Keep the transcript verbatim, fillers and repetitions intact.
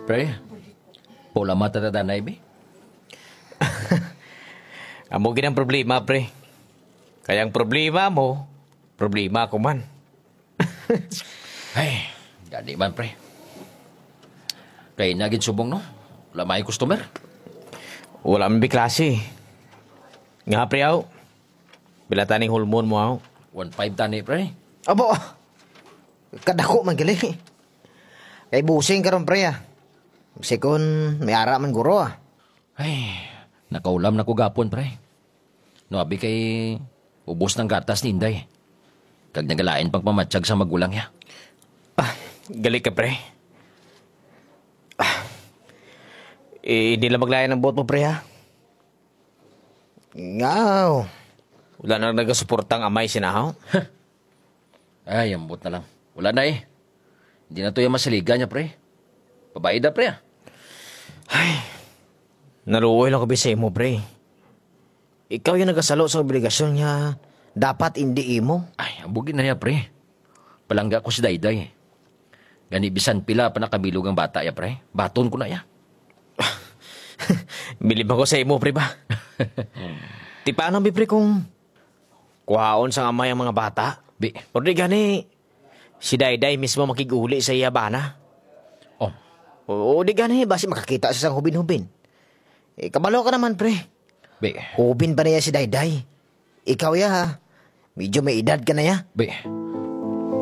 Pre, paulamat ta danay, bi. Amo gid ang problema, pre. Kaya ang problema mo, problema ko man. Ay, gani man, pre. Kay na gid subong, no? Wala may customer. Wala man bi klase. Nga, pre, aw. Pila taning hulmon mo, aw? One five tani, pre. Abo, kadako man gali. Kay busing karon, pre, ah. Sikon may ara man guro, ah. Ay, nakaulam na ko gapon, pre. No, abi kay ubos ng gatas ni Inday. Kag nagalain pang pamatsag sa magulang niya. Ah, gali ka, pre. Ah, eh, di lang maglain ang buot mo, pre, ha? Ngaw. Wala na nagasuporta ang amay sinahaw? Ay, ambot na lang. Wala na eh. Hindi na to yung masaligan niya, pre. Babae da, pre, ah. Ay, naluoy lang ko bi sa imo, pre. Ikaw yung nagasalo sa obligasyon niya. Dapat hindi imo. Ay, ambugin na niya, pre. Palangga ko si Dayday. Gani, bisan pila pa nakabilog ang bata ya, pre. Baton ko na ya. Bilib ako sa imo, pre, ba? Ti paano, bi, pre, kung kuhaon sang amay ang mga bata? Bi. Or di gani, si Dayday mismo makig-uli sa iya bana? Oh. O, o di gani, basi makakita siya sang hubin-hubin. Eh, kabalo ka naman, pre. Bi. Hubin pa niya si Dayday. Ikaw ya, ha? Medyo may edad ka na ya. Bi.